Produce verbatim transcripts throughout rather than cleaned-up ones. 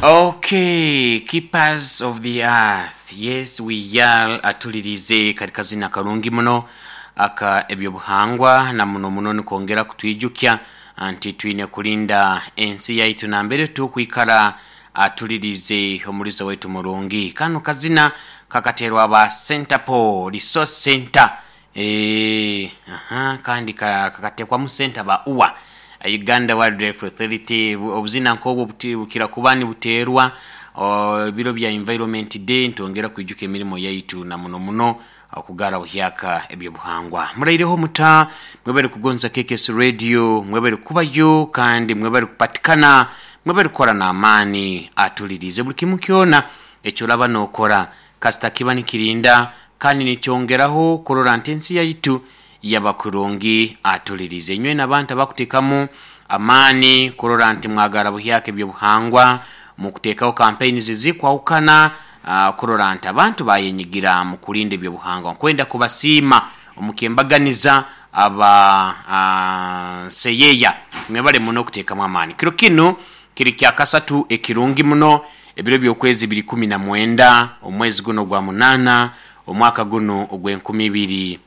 Okay, keepers of the earth. Yes, we are atulirize katika zina karungi muno aka ebyobuhangwa na muno muno nikongera kutwijukya nti twine kulinda ensi yaitu nambere tukwikara atulirize omulizo waitu murungi. Kano kazina kakaterwa aba Centerpol Resource Center, eh aha kandi kakatekwa mu center ba U W A, Uganda Wildlife Authority. Obuzina nk'obwo bukira kuba nibuteerwa ebiro bya Environment Day, ntongera kwijuka emirimo yaitu na muno muno okugara buhyaka ebyobuhangwa. Muraireho muta? Mwebale kugonza K K S Radio, mwebale kubayo kandi mwebale kupatikana, mwebale kukora n'amaani. Atulirize buli kimu kyona ekyolaba n'okora, kasita kiba nikirinda kandi nikyongeraho kurora nti ensi yaitu yaba kurungi. Atulirize inywe n'abantu abakuteekamu amaani kurora nti mwagara buhyaka ebyobuhangwa mukuteekaho campaigns zikwahukana, uh, kurora nti abantu bayenyigira mu kulinda ebyobuhangwa. Nkwenda kubasiima omukembaganiza aba uh, seyeya, mwebale muno okuteekamu amaani. Kiro kinu kiri kya kasatu ekirungi muno, ebiro by'okwezi biri kumi na mwenda, omwezi guno gwa munana, omwaka guno ogw'enkumi ibiri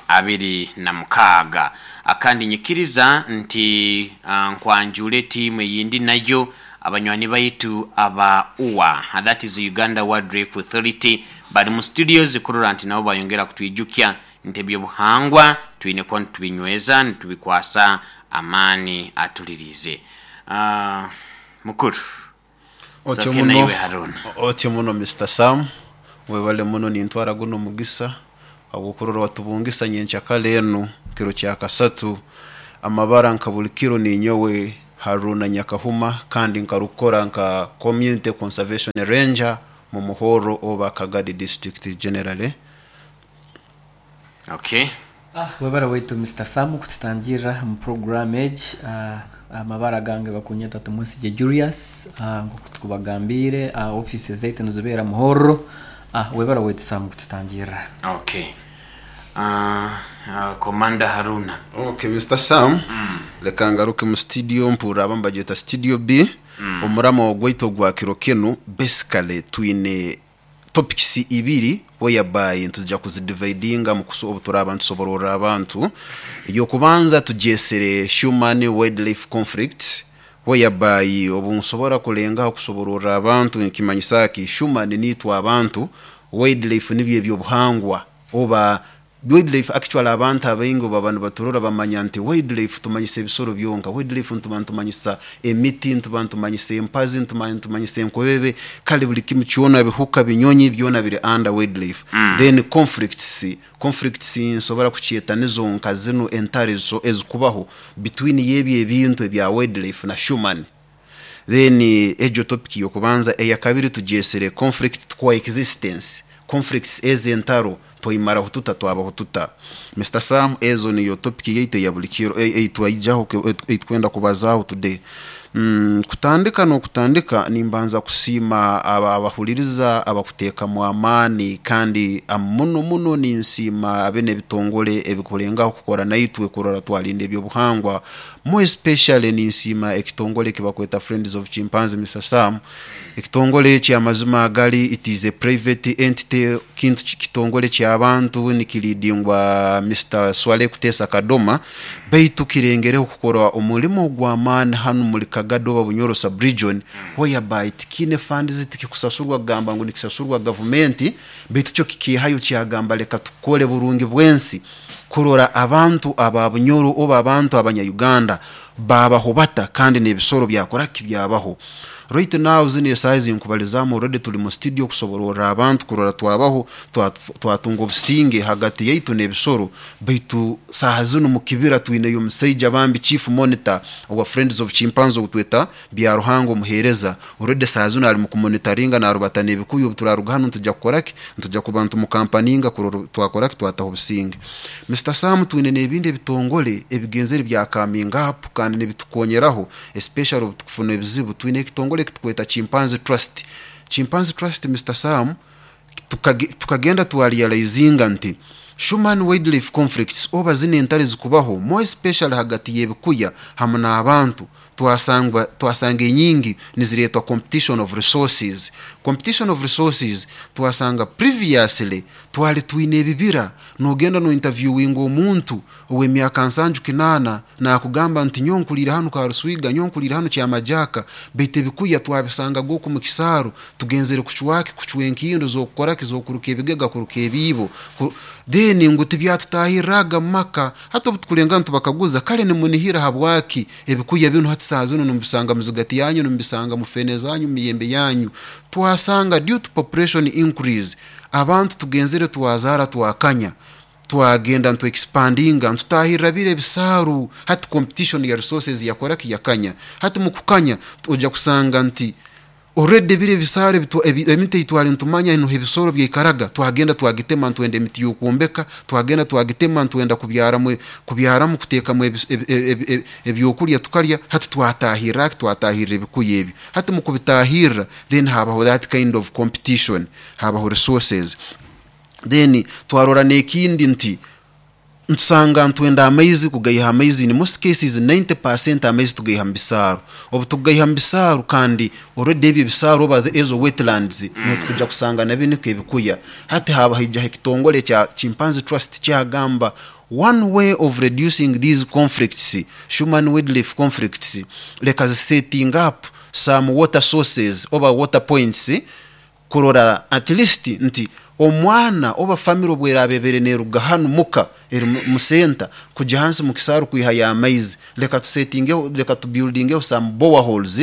abiri na mukaaga. Akandi nyikiriza nti uh, nkwanjule tiimu eyindi nayo, abanywani baitu aba U W A, that is Uganda Wildlife Authority, bali mu studios kurora nti nabo bayongera kutwijukya nti ebyobuhangwa twine kuba nitubinyweza, nitubikwasa amaani. Atulirize uh, mukuru. Otyo Soke. Muno. Naiwe Haruna. Otyo muno, Mister Sam, webale muno. Nintwara guno mugisa agukurora watubungisa nyenkyakala enu kiro kya kasatu. Amabara nka buli kiro, ninyowe Haruna Nyakahuma, kandi nkarukora nka community conservation ranger mu Muhoro oba Kagadi District generally. Okay. Ah, webale waitu Mister Sam kututangirra mu program egi. Ah, amabara gange bakunyeta Tumwesigye Julius. ah, nkoku tukubagambire, ah, office zaitu nizibeera Muhorro. ah, webale waitu Sam kututangirra. Okay, uh, uh, Commander Haruna. Okay, Mister Sam, reka ngaruke mu studio mpurra aba mbageta studio B. Omurama ogwaitu ogwa kiro kinu, basically twine topics ibiri whereby ntujja kuzidividinga mu kuso obu turaba ntusoborora abantu. Eyokubanza tugyesere human wildlife conflicts, whereby obu nsobora kulengaho kusoborora abantu nkimanyisa ki human nitwe abantu, wildlife nibyo ebyobuhangwa oba wildlife. Actually, abantu abaingi baba nibaturora bamanya nti wildlife tumanyisa ebisoro byonka. Wildlife ntuba ntumanyisa emiti, ntuba ntumanyisa empazi, ntuba ntumanyisa enkobebe, kale buli kimu kyona, bihuka, binyonyi, byona biri under wildlife. mm. Then conflicts conflicts nsobora kukyeta nizo nka zino entare zo ezikubaho between yebyo ebintu ebya wildlife na human. Then egyo topic yokubanza. Eyakabiri tugyesere conflict coexistence, conflicts ez'entaro twimaraho tuta, twabaho tuta? Mister Sam, ezo niyo topic yaitu ya buli kiro eitwaijaho, eitwenda kubazaho today. Mm, kutandika n'okutandika nimbanza kusiima aba abahuliriza abakuteekamu amaani, kandi muno muno ninsiima abene ebitongole ebikulengaho kukora naitwe kurora twalinda ebyobuhangwa. More especially ninsiima ekitongole ekibakweta Friends of Chimpanzee. Mister Sam, ekitongole eki amazima agali, it is a private entity, kintu kitongole ky'abantu nikiridingwa Mister Swale Kutesa Kadoma, baitu kirengereho kukora omulimo gw'amaani hanu muri Kagado oba Bunyoro sub-region, whereby tikine funds, tikikusasurwa kugamba ngu nikisasurwa gavumenti, baitu kyo kikihayo kyagamba leka tukole burungi bwensi kurora abantu aba Bunyoro oba abantu abanya-Uganda babaho bata kandi n'ebisoro byakora kibyabaho. Right now, zino esaaha nkubalizamu, already tuli mu studio kusoborora abantu kurora twabaho, twatunga obusinge hagati yaitu n'ebisoro. Baitu saaha zino mu kibira twineyo omusaija bambi, chief monitor owa Friends of Chimpanzee, ogutweta Byaruhanga Omuheereza. Already saaha zino ali mu kumonitoringa, narubata n'ebikuyu. Obu turaruga hanu ntujja kukoraki, ntujja kuba ntumukampaninga kurora twakoraki, twataho obusinge. Mister Sam, twine n'ebindi ebitongole ebigenzere bya coming up kandi nibitukonyeraho, especially obu tukufuna ebizibu. Twine ekitongole ekitukweta Chimpanzee Trust. Chimpanzee Trust, Mister Sam, tukagenda twarealizinga nti human wildlife conflicts oba zino entare zikubaho, more especially hagati y'ebikuya hamwe n'abantu. Twasangwa twasanga enyingi niziretwa competition of resources. Competition of resources, twasanga previously twali twine ebibira. Nogenda no interviewing omuntu ow'emyaka nsanju kinaana, nakugamba nti nyonkulire hanu Karuswiga, nyonkulire hanu Kyamajaka, baitu ebikuya twabisanga goku mu kisaaru, tugenzere kucwaki, kucwa enkindo zokukoraki, zokuruka ebigega, kuruka ebiibo. Ku- then ngu tibyatutahirraga mu maka. Hati obu tukulenga ntubakaguza, kale nimunihira habwaki ebikuya binu hati saa zinu nimubisanga muzigati yanyu, nimubisanga mu fene zanyu, mu miyembe yanyu? Twasanga due to population increase, abantu tugenzere twazara, twakanya, twagenda ntu expandinga, ntutahirra bire ebisaaru. Hati competition ya resources yakoraki? Yakanya. Hati mukukanya ojja kusanga nti already bire ebisaaru ebitu- ebi- emiti eitwali ntumanya ino ebisoro byaikaraga, twagenda twagitema, ntwenda emiti y'okwombeka, twagenda twagitema, ntwenda kubyaramu kubyaramu kuteekamu ebis- ebi- ebi- ebi- ebyokurya tukarya. Hati twatahirra, twatahirra ebikuya ebyo. Hati mukubitahirra, then habaho that kind of competition, habaho resources. Then twarora n'ekindi nti ntusanga ntwenda amaizi, kugaiha amaizi. In most cases ninety percent amaizi tugaiha mu bisaaru. Obu tugaiha mu bisaaru, kandi already ebyo ebisaaru oba ezo wetlands mm. Tukuja kusanga nabyo niko ebikuya. Hati haba haijaho ekitongole kya Chimpanzee Trust kyagamba, one way of reducing these conflicts, human wildlife conflicts, leka setting up some water sources oba water points, kurora at least nti omwana oba family obweraba ebere neruga hanu muka eri mu- mu center kujya hansi mu kisaaru kwihayo amaizi, leka tusetingeho, leka tubuildingeho some boreholes,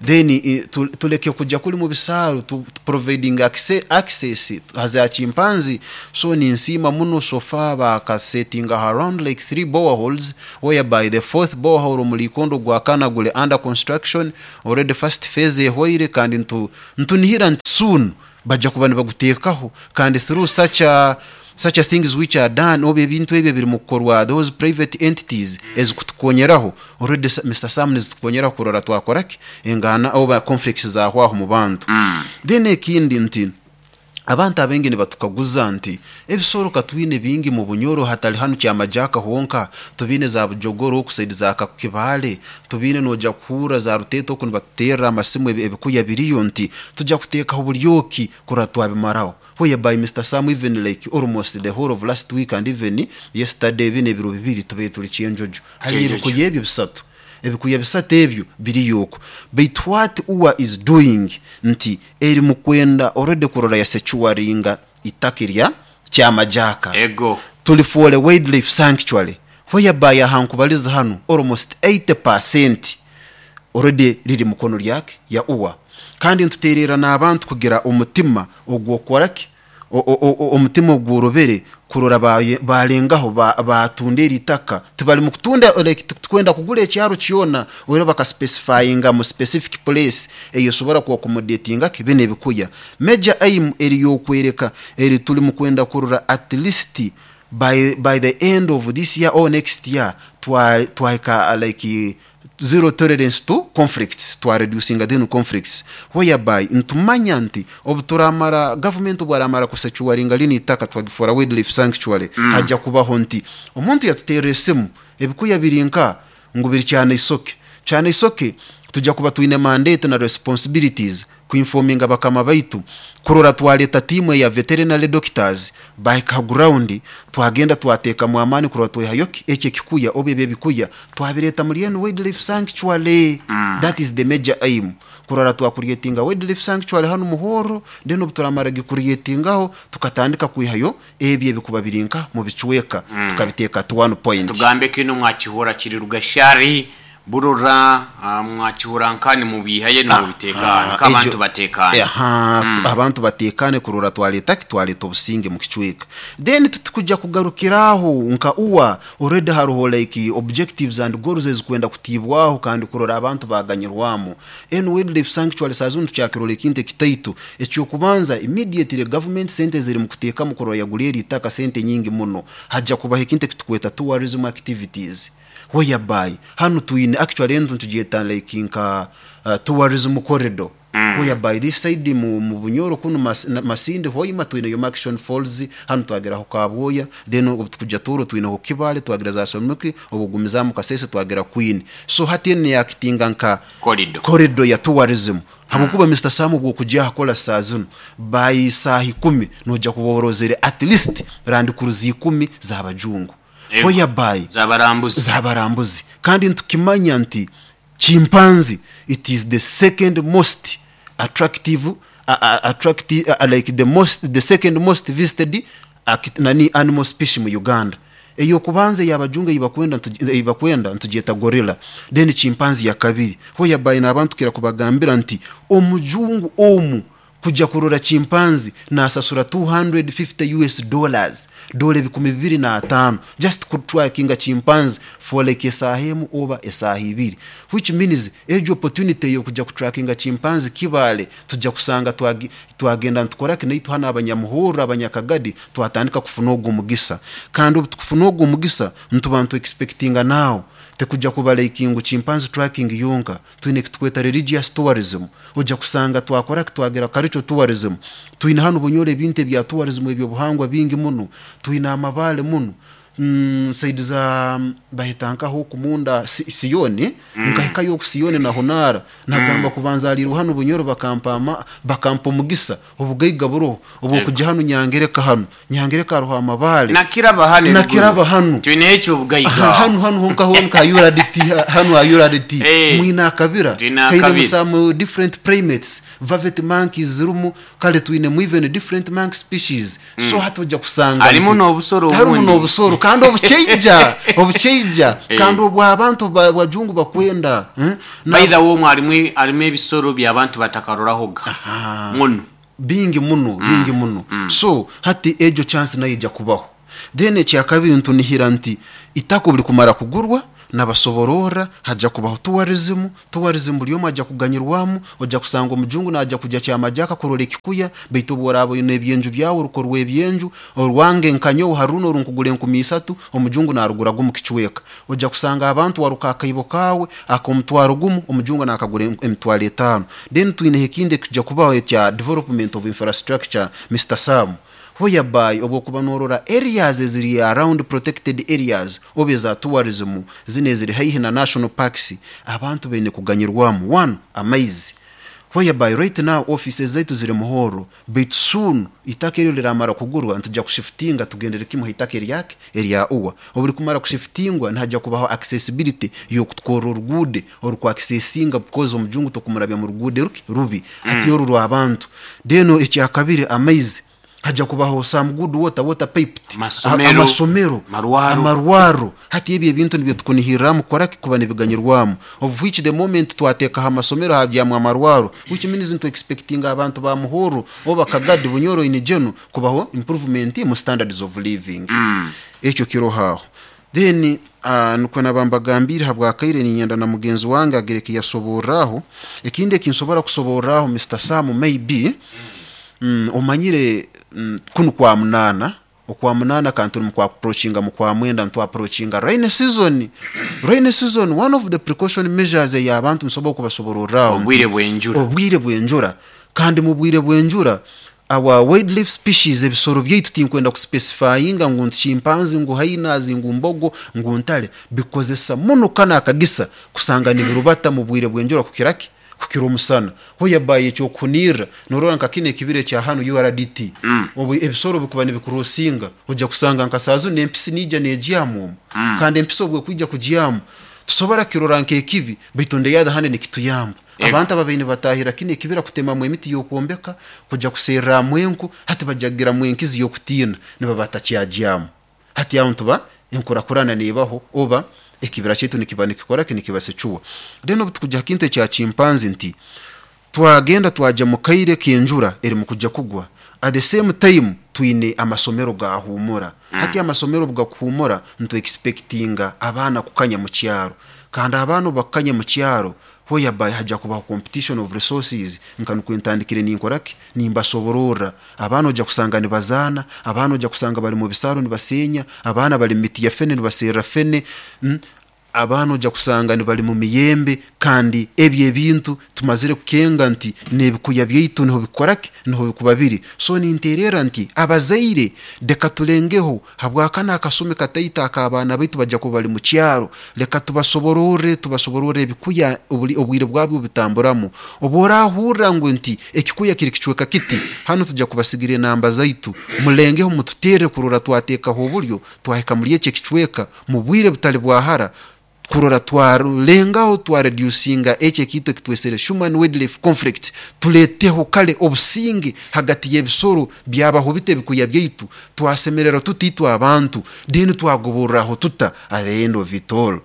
then eh, tu- tuleke kujya kuri mu bisaaru, tu, tu providing access, access haza chimpanzee. So ninsiima muno, so far bakasetinga around like three boreholes, whereby the fourth borehole mu Likondo gwa kana gule under construction already, first phase ehwaire, kandi ntu ntunihira nti soon bajja kuba nibaguteekaho. Kandi through such a such a things which are done, oba ebintu ebyo biri mu kukorwa those private entities ezikutukonyeraho already, Sa- Mister Sam, nizitukonyeraho kurora twakoraki engana oba conflicts zahwaho mu bantu mm. Then ekindi nti abantu abengi nibatukaguza nti ebisoro katwine bingi mu Bunyoro, hatali hanu Kyamajaka honka, tubine za Bujogoro oku side za Kakibale, tubine noja kuhura za Ruteto oku nibatuterra amasimu, ebi- ebikuya biriyo, nti tujja kuteekaho buryoki kurora twabimaraho? Whereby, Mister Sam, even like almost the whole of last week and even yesterday, bine ebiro bibiri tube tuli Kyenjojo, hari Kyenjojo. ebikuya ebyo bisatu, ebikuya bisatu ebyo biriyo. Baitu what U A is doing nti eri mu kwenda already kurora ya securinga itaka erya Kyamajaka, ego tulifuole wildlife sanctuary, whereby ahankubaliza hanu almost eighty percent already riri mukono lyake ya U A. Kandi ntuterera n'abantu kugira omutima ogwokoraki, o- o- o- omutima ogworobere kurora baye- balengaho ba- batunda eri itaka. Tibali mu kutunda like tukwenda kugura ekyaro kyona, ore bakaspecifyinga mu specific place eyo sobora ku accommodatinga bene ebikuya. Major aim eri yokwereka eri tuli mu kwenda kurora at least by, by the end of this year or next year twa twahika like zero tolerance to conflicts, twa reducinga then conflicts, whereby ntumanya nti obu turamara government obwaramara kusecuringa lini itaka twagifora wildlife sanctuary mm. hajja kubaho nti omuntu yatuterera esimu, ebikuya biri nka ngu biri cyane isoke, cyane isoke, tujja kuba twine mandate na responsibilities kuinforminga bakama baitu kurora twaleta timu ya veterinary doctors bahika ground, twagenda twateeka amaani kurora twehayo ekyo ekikuya oba ebyo ebikuya twabireta muri eno wildlife sanctuary mm. That is the major aim, kurora twacreatinga wildlife sanctuary hano Muhoro. Then obu turamara gicreatingaho, tukatandika kwihayo ebyo ebikuba birinka mu bicweka mm. tukabiteeka to one point. Tugambe kino mwakihura kiri Rugashari Burora, ah, mwakihura nkani mubihaye nimubitekane ko abantu Ekyo- batekane. Aha, tu- abantu batekane kurora twaleta ki, twaleta obusinge mu kicweka. Then tutukujja kugarukiraho nka U A, already hariho like objectives and goals ezikwenda kutibwaho kandi kurora abantu baganyirwamu en wildlife sanctuary. Saa zino tukyakirora ekintu ekitaitu ekyokubanza, immediately government sente ziri mu kuteekamu kurora yagura eri itaka, sente nyingi muno, hajja kubaho ekintu ekitukweta tourism activities, whereby hano twine actually entu ntugyeta like nka uh, tourism corridor. mm. Whereby this side mu, mu Bunyoro kuno mas, na- Masindi, Hoima, twineyo Murchison Falls, hanu twageraho Kabwoya, then obu tukujja Tooro twineho Kibale, twagira za Somuki, obugumizamu Kasese twagira Queen. So hati eno yakitinga nka Corridor. Corridor ya tourism, habwokuba Mister Sam, bwokujya hakola saa zino by saaha ikumi nojja kuba orozere at least Land Cruiser ikumi z'abajungu. Ego. Whereby zabarambuzi. Z'abarambuzi. Kandi ntukimanya nti chimpanzee, it is the second most attractive uh, uh, attractive uh, like the most the second most visited uh, nani animal species mu Uganda. Eyokubanza yabajunga ibakwenda ibakwenda ntugyeta gorilla, then chimpanzee ya kabiri. Whereby n'abantu kira kubagambira nti omujungu omu kujja kurora chimpanzee nasasura two hundred fifty U S dollars, dola ebikumi bibiri na ataano, just kutrackinga chimpanzee for like esaaha emu oba esaaha ibiri, which means ejo opportunity yokujja kutrackinga chimpanzee Kibale tujja kusanga twagi- twagenda ntukora kinaitu hano Abanyamuhurra, Abanyakagadi twatandika kufuna ogwo mugisa. Kandi obu tukufuna ogwo mugisa, ntuba ntu expectinga now tekujja kuba like ngu chimpanzee tracking yonka. Twine kitweta religious tourism, ojja kusanga twakora twagera cultural tourism. Twine hano Bunyoro ebintu ebya tourism ebyobuhangwa bingi muno, twine amabale muno mm, side za bahitankaho kumunda si, Siyoni mm. Nkahikayo ku Siyoni na Honara nagamba mm. kubanzalirwa hano Bunyoro bakampama bakampa omugisa obugaiga buroho obwo kujya hano Nyangereka, hano Nyangereka hariho amabale. Nakiraba hano. Nakiraba hano. Twine ekyo obugaiga. Aha, hano hano honka honka U R D T, hano ha U R D T. Eh. Mwine akabira Twine kaine akabira. Some different primates, vervet monkeys zirumu, kale twinemu even different monkey species. So hati ojja kusanga Harimu nti- n'obusoro harimu obundi. n'obusoro kandi obuceija obuceija Eh. kandi obwo abantu ba- bajungu bakwenda, eh? Na- By the way, omwo harimu harimu ebisoro by'abantu batakarorahoga muno. Bingi muno, bingi muno. So hati ejo chance nayo ijja kubaho. Then ekyakabiri, ntunihira nti itaka buli kumara kugurwa nabasoborora hajja kubaho tourism. Tourism buli omwe ajja kuganyirwamu. Ojja kusanga omujungu najja kujja Kyamajaka kurora ekikuya, baitu obworaba oine ebyenju byawe orukorwa ebyenju orwange nkanyowe haruno orunkugura enkumi isatu, omujungu naruguraga omu kicweka. Ojja kusanga abantu waruka akaibo kawe ak'omutwaro gumu, omujungu nakagura em- emitwaro etaano. Then twineho ekindi ekijja kubaho ekya development of infrastructure, Mister Sam, whereby obwokuba norora areas eziri around protected areas oba eza tourism zino eziri haihi na national parks, abantu baine kuganyirwamu one amaizi, whereby right now offices zaitu ziri Muhoro, baitu soon itaka eryo liramara kugurwa ntujja kushiftinga tugendere kimwe itaka eryake erya uwa. Obuli kumara kushiftingwa nihajja kubaho accessibility yokutwora oruguude orukwaccessinga, because omujungu tokumurabya mu ruguude ruki rubi ati oru rw'abantu. Then ekyakabiri, amaizi, hajja kubaho some good water water piped. Amasomero. Amasomero. Amarwaro. Amarwaro. Hati ebyo ebintu nibyo tukunihirramu kora kuba nibiganyirwamu, of which the moment twateekaho amasomero habyamu amarwaro, which means ntu expecting abantu ba Muhoro oba Kagadi, Bunyoro in general kubaho improvement mu standards of living. Ekyo kirohaho. Then uh, nukwo nabambagambire habwakaire ninyenda na mugenzi wange agereke yasoborraho. Ekindi ekinsobora kusoborraho, Mister Sam, maybe mm, omanyire mm, kunu kwa munana, okwa munana kantu mu kwa approachinga mu kwa mwenda ntu approachinga rain season. Rain season, one of the precaution measures ey'abantu nsobola kubasobororraho Obwire bw'enjura. Obwire bw'enjura. Kandi mu bwire bw'enjura our wildlife species, ebisoro byaitu, tinkwenda kuspecifyinga ngu nti chimpanzee, ngu hyenas, ngu mbogo, ngu ntale, bikozesa muno kana akagisa kusanga nibirubata mu bwire bw'enjura kukiraki kukira omusana, whereby ekyokunirra norora nka kino ekibira ekya hano U R D T mm. Obu ebisoro bikuba nibikurosinga ojja kusanga nka saazo n'empisi nija negyamu omu mm. Kandi empisi obwe kwijja kugyamu tusobora kirora nk'ekibi, baitu on the other hand nikituyamba. Ego. Abantu ababaine batahira kino ekibira kutemamu emiti y'okwombeka, kujja kuserramu enku, hati bajagiramu enkizi y'okutiina niba batakyagyamu. Hati aho ntuba enkurakurana nebaho oba ekibira kyaitu nikiba nikikora ki nikibasecuwa. Then obu tukujja ha kintu ekya chimpanzee, nti twagenda twajya mu kaire k'enjura eri mu kujya kugwa, at the same time twine amasomero gahumura mm. Hati amasomero gakuhumura ntu expectinga abaana kukanya mu kyaro, kandi abaana bakukanya mu kyaro, whereby hajja kubaho competition of resources. Nka nukwentandikire ninkoraki nimbasoborora, abaana ojja kusanga nibazaana, abaana ojja kusanga bali mu bisaro nibasenya, abaana bali mu miti ya fene nibaserra fene mm. Abaana ojja kusanga nibali mu miyembe, kandi ebyo ebintu tumazire kukenga nti n'ebikuya byaitu niho bikoraki, niho bikuba biri. So ninterera nti abazaire leka tulengeho, habwakana akasumi kataito ak'abaana baitu bajja kuba bali mu kyaro, leka tubasobororre, tubasobororre ebikuya obuli- obwire bwabyo bitamburamu. Obu orahurra ngu nti ekikuya kiri kicweka kiti, hanu tujja kubasigira enamba zaitu, mulengeho mututerre kurora twateekaho obulyo twahika muri eki ekicweka mu bwire butali bwahara, kurora twarengaho twareducinga eki ekintu ekitwesere human wildlife conflict, tuleteho kale obusinge hagati y'ebisoro byabaho bite ebikuya byaitu, twasemerera tuti itwe abantu, then twagoborraho tuta at the end of it all.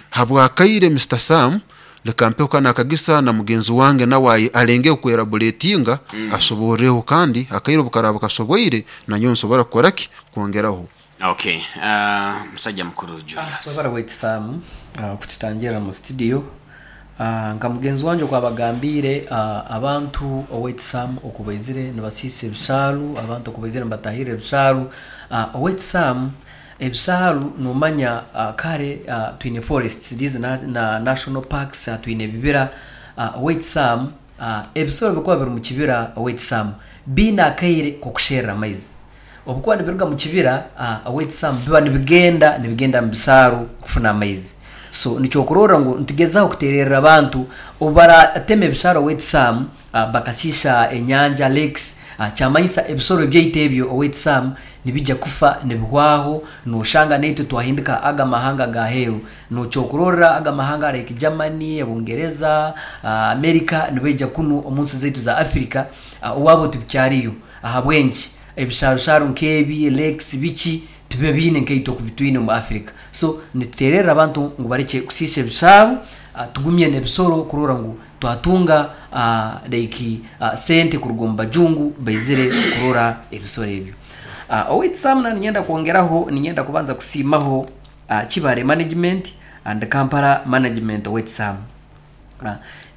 Habwakaire Mister Sam, leka mpeho kano akagisa na mugenzi wange nawe alenge kwerabuletinga, asoboreho, kandi akaire obukaraba kasoboire nanyowe nsobora kukoraki kwongeraho. Okay, uh, musajja mukuru Julius. Webara waitu Sam uh, kututangira mu studio. uh, nka mugenzi wanje okwabagambire, uh, abantu owaitu Sam okubaizire nibasiisa ebisaalu, abantu okubaizire nibatahirra ebisaalu. uh, owaitu Sam, ebisaalu nomanya, uh, kare uh, twine forests, these na, na national parks, uh, twine ebibira. uh, owaitu Sam, uh, ebisoro bikuba biri mu kibira owaitu Sam biine akaire k'okusherra amaizi. Obukuba nibiruga mu kibira, uh, owaitu Sam, biba nibigenda nibigenda mu bisaaru kufuna amaizi. So nikyokurorra ngu nitugezaho kutererra abantu obu baratema ebisaaru owaitu Sam, uh, bakasisha enyanja, lakes, uh, kyamanyisa ebisoro byaitu ebyo owaitu Sam nibijja kufa nibihwaho. Noshanga naitwe twahindika aga mahanga gaheeru. Nokyokurorra aga mahanga like Germany, Bungereza, uh, America nibaija kunu omu nsi zaitu za Africa, uh, owabo tibikyariyo. Ahabwenki ebisharusharu nk'ebi, lakes, biki tibiba biine nkaitwe okubitwine mu Africa? So nitutererra abantu ngu bareke kusiisa ebisaaru, uh, tugumye n'ebisoro kurora ngu twatunga uh, like uh, sente kuruga omu bajungu baizire kurora ebisoro ebyo. uh, owaitu Sam, na ninyenda kwongeraho, ninyenda kubanza kusiimaho uh, Kibale management and Kampala management. Owaitu Sam, uh,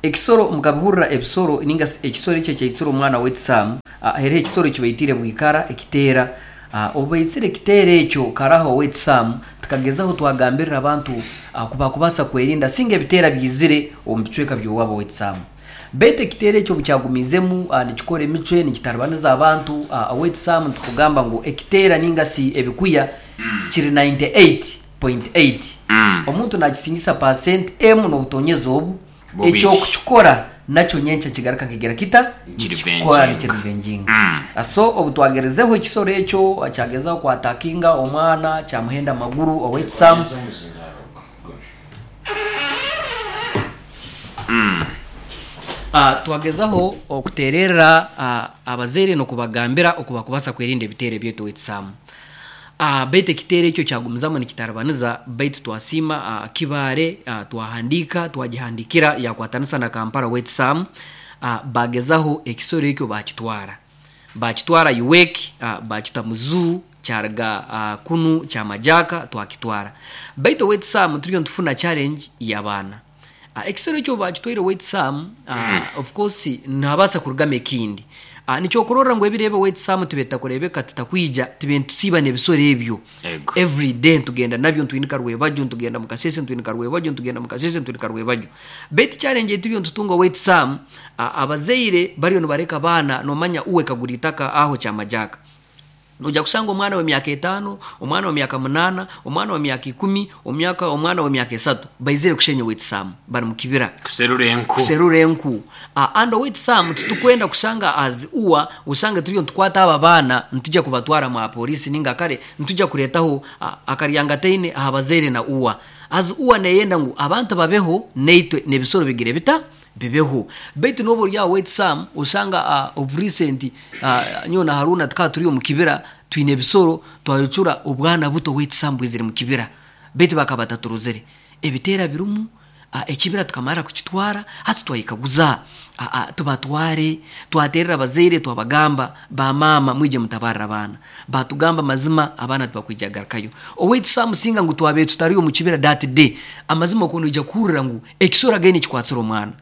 ekisoro mukabihurra, ebisoro ninga s- ekisoro ekyo kyaitsire omwana waitu Sam, uh, heriho ekisoro kibaitire bwikara ekiteera. uh, obu baitsire ekiteera ekyo karaho owaitu Sam, tukagezaho twagambirira abantu uh, kuba kubasa kwerinda singa ebiteera byizire omu bicweka by'owabo owaitu Sam. Baitu ekiteera ekyo bukyagumizemu uh, nikikora emicwe, nikitaribaniza abantu. uh, owaitu Sam, nitukugamba ngu ekiteera ninga si ebikuya kiri nkaaga munaana nukta mwenda. Mm. Omuntu nakisingisa percent emu n'obutonyeza obu Bubiri. Ekyokukikora nakyo nyenkya kigaruka kigera kita Kirivenjinga. Nikirivenjinga. Mm. So obu twagerezeho ekisoro ekyo kyagezaho kwatakinga omwana, kyamuhenda amaguru owaitu Sam. Uh, twagezaho okutererra uh, abazaire n'okubagambira okubakubasa kwerinda ebiteero byaitu owaitu Sam. uh, baitu ekiteero ekyo kyagumizamu nikitaribaniza. Baitu twasiima uh, Kibaare, uh, twahandika, twagihandikira yakwatanisa na Kampala owaitu Sam, uh, bagezaho ekisoro ekyo bakitwara bakitwara U W E C, uh, bakita mu zoo. Kyaruga uh, kunu kyamajaka twakitwara. Baitu owaitu Sam, turiyo nitufuna challenge y'abaana. uh, ekisoro ekyo bakitwaire owaitu Sam, uh, of course nabasa kurugamu ekindi. uh, nikyokurorra ngu ebirebe owaitu Sam tibeta kurebeka titakwija tibe ntusiiba n'ebisoro ebyo. Ego. Every day ntugenda nabyo, ntwinika rwebajyo, ntugenda mukasese, ntwinika rwebajyo, ntugenda mukasese, ntwinika rwebajyo. Baitu challenge eturiyo ntutunga owaitu Sam, uh, abazaire bariyo nibareka abaana. Nomanya uwe kagura itaka aho kyamajaka, ojja kusanga omwana w'emyaka etaano, omwana w'emyaka munaana, omwana w'emyaka ikumi, omyaka omwana w'emyaka esatu baizire kushenya owaitu Sam, bari mu kibira kuserura enku. Kuserura enku. uh, and owaitu Sam, titukwenda kushanga as uwa usange turiyo ntukwata aba baana ntujya kubatwara mwa polisi ninga kare ntujya kuretaho uh, akaryangateine aha bazaire na uwa. As uwa neyenda ngu abantu babeho neitwe n'ebisoro bigire bita bibeho. Baitu n'obu ori aho owaitu Sam, osanga uh, of recent, uh, nyowe na Haruna tukaba turi omu kibira twine ebisoro, twayocura obwana buto owaitu Sam bwizire mu kibira, baitu bakaba bataturuzire ebiteera birumu. uh, ekibira tukamara kukitwara, hati twayikaguza, uh, uh, tubatware. Twaterera abazaire, twabagamba, bamama mwije mutabarra abaana. Batugamba mazima abaana tibakwija garukayo owaitu Sam. Singa ngu twabe tutari omu kibira that day, amazima okuntu ija kuhurira ngu ekisoro againe kikwatsire omwana.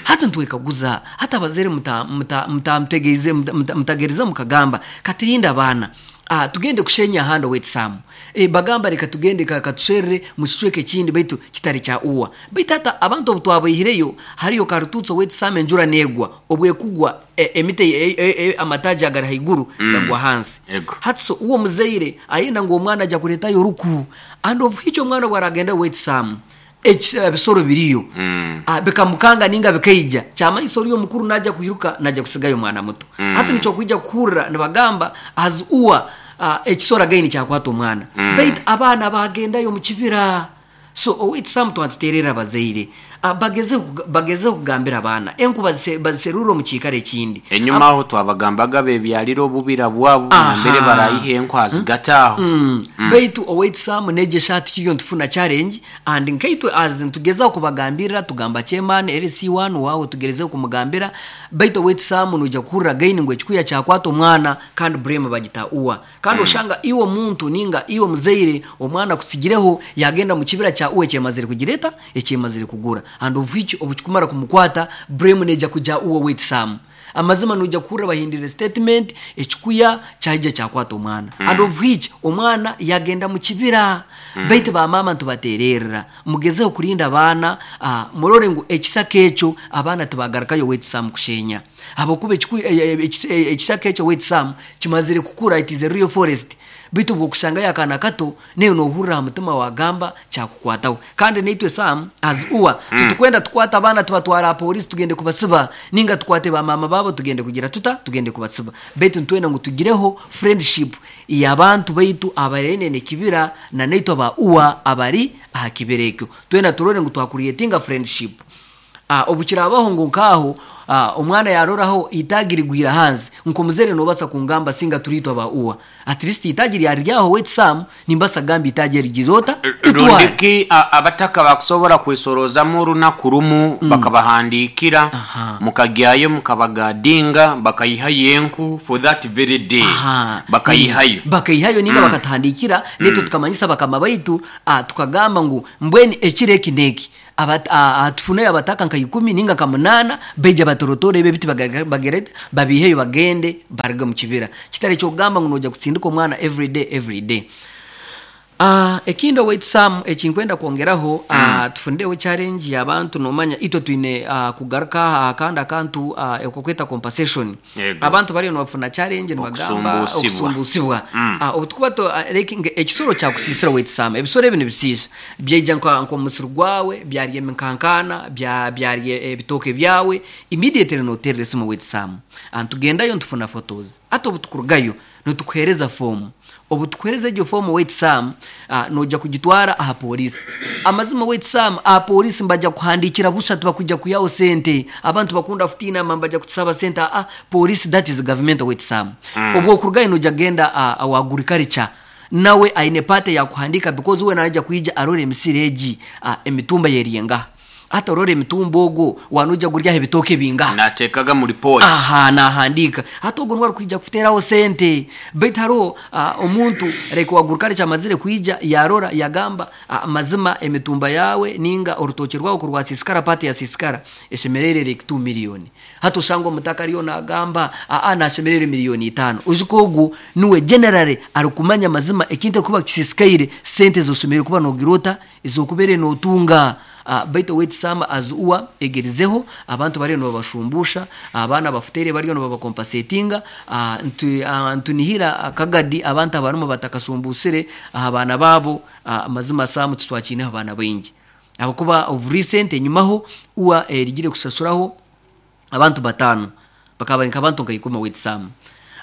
Hati ntwekaguza, hati abazaire muta- muta- muta- mutategeize muta- mutagerize mukagamba katirinde abaana. Ah, tugende kushenya ahandi owetisamu e, bagamba reka tugende ka- katusherere mu kicweka ekindi baitu kitari kya uwa. Baitu hata abantu obu twabaihireyo hariyo karututsi owetisamu, enjura negwa, obwekugwa e, emiti e, e, e, amataji agari haiguru mm. gagwa hansi. Ego. Hati so uwo muzaire ayenda ngu omwana ajya kuretayo oruku, and of which omwana bwaragenda owetisamu ebisoro biriyo mm. ah, bikamukanga ninga bikaija kyamanyisa oriyo omukuru najya kwiruka, najya kusigayo omwana muto mm. Hati nikyo kwija kuhurira nibagamba as uwa uh, ekisoro againi kyakwata omwana mm. Baitu abaana bagendayo mu kibira. So owetisamu twatuterera abazaire uh, bageze bageze kugambira abaana enku bazise- baziserure omu kiikaro ekindi. Enyuma aho twabagambaga bebyalira obubira bwabo nambere barayiha enku azigataaho. Mm. Baitu owetisamu negesha ati kiyo ntufuna challenge, and nkaitwe as ntugezaho kubagambirira, tugamba chairman L C one wawe tugerezeho kumugambira. Baitu owetisamu nuja kuhurira gaini ngo ekikuya kyakwata omwana, kandi blame bagita uwa, kandi oshanga iwe muntu ninga iwe muzaire omwana kusigireho yagenda mu kibira kya uwe ekyemazire kugireta, ekyemazire kugura, and of which obukikumara kumukwata blame neja kuja uwe wetisamu. Amazima nuja kuhurira bahindire statement, ekikuya kyaija kyakwata omwana mm. and of which omwana yagenda mu kibira mm. Baitu bamama ntubatererera, mugezeho kurinda abaana, uh, murore ngu ekisaka ekyo abaana tibagarukayo wetisamu kushenya, habwokuba ekiku- e- e- ekis- e- ekisaka ekyo wetisamu kimazire kukura, it is a real forest. Baitu bwokushangayo akaana kato neyo nohurira aha mutima wagamba kyakukwataho. Kandi naitwe sam as uwa mm. titukwenda tukwata abaana tubatwara polisi tugende kubasiba, ninga tukwate bamama babo tugende kugira tuta tugende kubasiba. Baitu ntwenda ngu tugireho friendship y'abantu baitu abarene kibira na naitwe aba uwa abari aha kibira ekyo, twenda turore ngu twacreatinga friendship. Ah, obukirabaho ngu nkaho ah, omwana yaroraho itagi rigwira hanze, nkomuzere nobasa kungamba singa turitwa ba uwa, at least itagi ryaryaho wetsam nimbasa gamba itagi rigizota ritware. Rundiki a- abataka bakusobola kwesorozamu olunaku lumu bakabahandikira, Aha. mukagyayo mukabagadinga bakayihayo enku for that very day. Aha. Bakayihayo. Mm. bakayihayo ninga mm. bakatuhandikira netwe tukamanyisa bakama baitu, ah, tukagamba ngu mbweni ekiro eki neki Abat- ah, ah, tufuneyo abataka nka ikumi ninga nka munana, beija batorotore ebyo ebiti baga- bagerete babiheyo bagende baruge mu kibira. Kitari kyokugamba ngu noja kusindika omwana every day, every day. Uh, ekindi owaitu ekinkwenda kwongeraho uh, mm. tufundireho challenge y'abantu. Nomanya itwe twine uh, kugaruka akandi akantu uh, ekokweta compensation. Yego. Abantu bariyo nibafuna challenge nibagamba Okusumbusibwa. Okusumbusibwa. mm. uh, obutukuba to uh, like nge- ekisoro kyakusisira owaitu, ebisoro ebi nibisiisa, byaija nka nk'omusiri gwawe byarya eminkankana, bya- byarya ebitooke byawe, immediately noterera esimu owaitu. Tugendayo ntufuna photos, ate obutukurugayo nitukuhereza fomu. Obu tukuhereza egyo fomu wait sam, uh, noja kugitwara aha polisi. Amazima wait sam, aha polisi mbajja kuhandikira busha, tibakujja kuyaho sente. Abantu bakunda kutina mbajja kutusaba sente. Ah, polisi, that is government wait sam mm. Obwo okurugayo noja genda uh, awa agriculture, nawe aine pate ya kuhandika, because we naija kuija arore emisiri egi, uh, emitumba yeriyenga, ate orore emitumba ogwo wanuja guryaho ebitooke bingaha. Nateekaga mu report. Aha, nahandika. Hati ogwo niwe arikwija kuteraho sente. Baitu hariho uh, omuntu like wagurukare kyamazire kwija yarora yagamba uh, mazima emitumba yawe ninga orutoki rwawe kurwasisikara, pati yasisikara, eshemerere like two million. Hati osanga omutaka ariyo nagamba aa nashemerere miliyoni itano. Oziko ogu niwe generally arikumanya mazima ekintu ekuba kisisikaire, sente zoshemerere kuba nogirota ezokubere notunga. Uh, baitu wetisamba as uwa egerizeho abantu bariyo nibabashumbusha abaana bafutere, bariyo nibabacompensatinga. uh, ntu, uh, ntunihira akagadi abantu abarimu batakasumbusire abaana babo. uh, mazima samu tutwakiineho abaana baingi, abakuba of recent enyumaho uwa erigire kusasuraho abantu batano, bakaba bari nk'abantu nka ikumi wetisamu,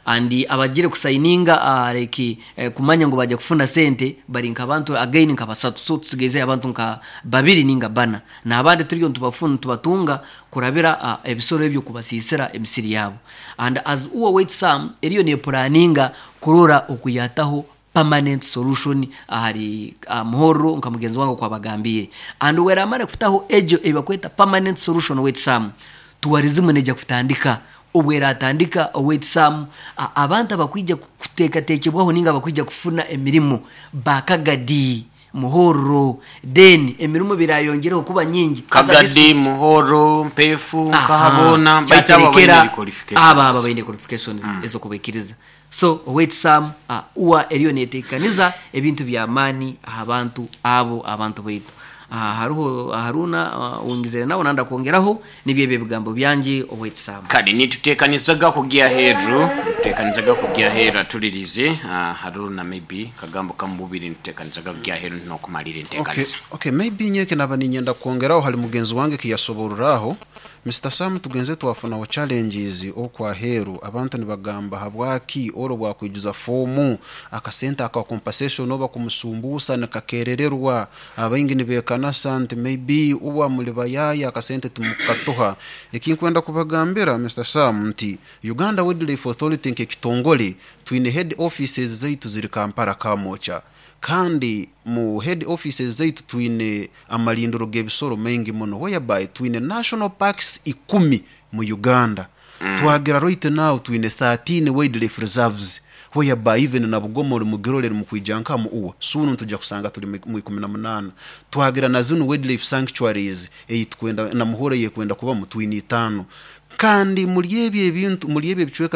and abagire kusayininga uh, like eh, kumanya ngo bajya kufuna sente bari nk'abantu again nka basatu. So tusigeze abantu nka babiri ninga bana, n'abandi turiyo ntubafuna tubatunga kurabira uh, ebisoro ebyo kubasisira emisiri yabo. And as uwa wait sam eriyo ne planninga kurora okuyataho permanent solution ahari uh, muhoro nka mugenzi wange kwabagambire. And weramara kufutaho ejo ebakweta permanent solution wait sam, tourism neja kutandika. Obwera atandika owetisamu, abantu abakwija kuteekateekebwaho ninga abakwija kufuna emirimu bakagadi. Muhorro, then emirimu birayongereho kuba nyingi As a Kagadi, district. Muhoro, Mpefu, Aha. Kahabona, baitu abo Kyaterekera, baine qualifications. abo abo baine qualifications ezokubaikiriza. So owaitu Sam, uh, uwa eriyo netekaniza ebintu byamaani aha bantu abo, abantu baitu. uh, haruho Haruna, uh, wongezere nawe nanda kwongeraho nibyo ebyo ebigambo byanje, owaitu Sam. Kale nitutekanizaga kugya heru, tutekanizaga kugya heru atulirize. uh, haruna, maybe kagambo kamububiri, nitutekanizaga kugya heru nokumalira Okay, entekaniza. okay, maybe nyeke naba ninyenda kwongeraho hali mugenzi wange kiyasoboreraho Mister Sam. Tugenze twafunaho challenges okwaheru, abantu nibagamba habwaki oro bwakwijuza fomu akasente aka compensation oba kumusumbusa nikakerererwa. Abaingi nibekanasa nti maybe uba muli bayaya, akasente timukatuha. Ekinkwenda kubagambira, Mister Sam, nti Uganda Wildlife Authority nk'ekitongole twine head offices zaitu ziri Kampala, Kamwokya, kandi mu head offices zaitu twine amalindiro g'ebisoro maingi muno, whereby twine national parks ikumi mu Uganda mm. Twagira right now twine thirteen wildlife reserves, whereby even na Bugoma ori mugirorere mukwija nkamu uwa soon ntujja kusanga tuli mu mu ikumi na munana. Twagira na zino wildlife sanctuaries eyi tukwenda na Muhore yekwenda kuba mu twine itano, kandi muri ebyo ebintu, muri ebyo ebicweka.